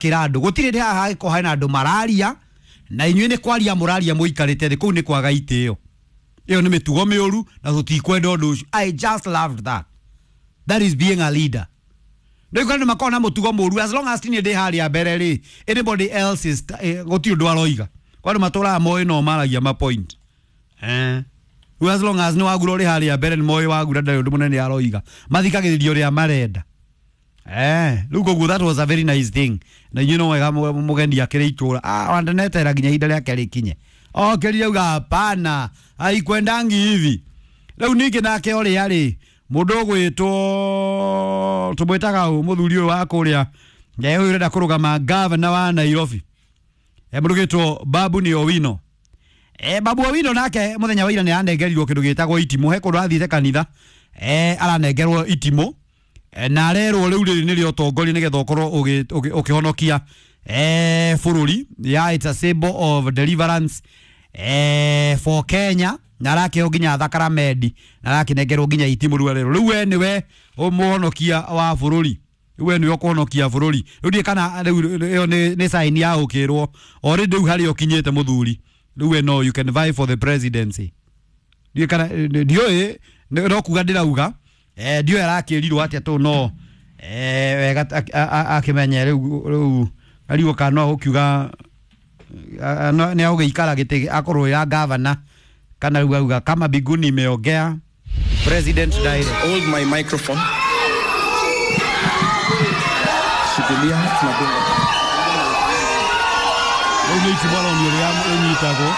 Kĩra andũ gũtirĩ ndĩ haha hangĩkorwo hena andũ mararia na inyuĩ nĩ kwaria mũraria mũikarĩte thĩ, kũu nĩ kwaga itĩo. Ĩyo nĩ mĩtugo mĩũru na tũtikwenda ũndũ ũcio. I just loved that. That is being a leader. Rĩu andũ makoragwo na mũtugo mũru, as long as niĩ ndĩ harĩa mbere rĩ, anybody else is gũtirĩ ũndũ aroiga. Kwa andũ matũraga moĩ no maragia ma point. Rĩu as long as nĩ wagura ũrĩ harĩa mbere, nĩ moĩ wagura ndarĩ ũndũ mũnene aroiga, mathikagĩrĩria ũrĩa marenda. Rĩu koguo that was a very nice thing. Na inyuĩ no wega mũgeni akĩrĩ itũra, wandanetera nginya ihinda rĩake rĩkinye, okĩrire auga hapana, haikwendangi hivi. Rĩu ningĩ nake ũrĩa rĩ, mũndũ ũgwĩtwo, tũmwĩtaga ũ, mũthuri ũyũ wa kũrĩa, ũyũ ũrenda kũrũgama gavana wa Nairobi, mũndũ ũgwĩtwo Babu ni Owino. Babu Owino nake mũthenya wa ira nĩ aranengerirwo kĩndũ gĩtagwo itimũ. He kũndũ athiĩte kanitha, aranengerwo itimũ, na arerwo rĩu rĩrĩ nĩrĩo ũtongoria nĩgetha ũkorwo ũkĩhonokia bũrũri. Yeah, it's a symbol of deliverance for Kenya. Na arakĩheo nginya thakramedi na arakĩnengerwo nginya itimũ. Rĩu arerwo rĩu we nĩwe mũhonokia wa bũrũri, rĩu we nĩwe ũkũhonokia bũrũri. Rĩu ndiĩ kana rĩu ĩyo nĩ sign ya gũkĩrwo already rĩu harĩa ũkinyĩte mũthuri, rĩu we no you can vie for the presidency. Ndiũĩ kana ndiũĩ, no kuga ndĩrauga, ndiũĩ arakĩrirwo atĩa tũ no wega akĩmenye rĩu arigwo kana no gũkiuga nĩ agũgĩikara gĩtĩ akorwo ya gavana kana rĩu auga kama biguni imeongea president direct. Hold my microphone. Shikilia, tunadunga. Rĩu nĩ itimũ aronio ũrĩa ĩnyitagwo.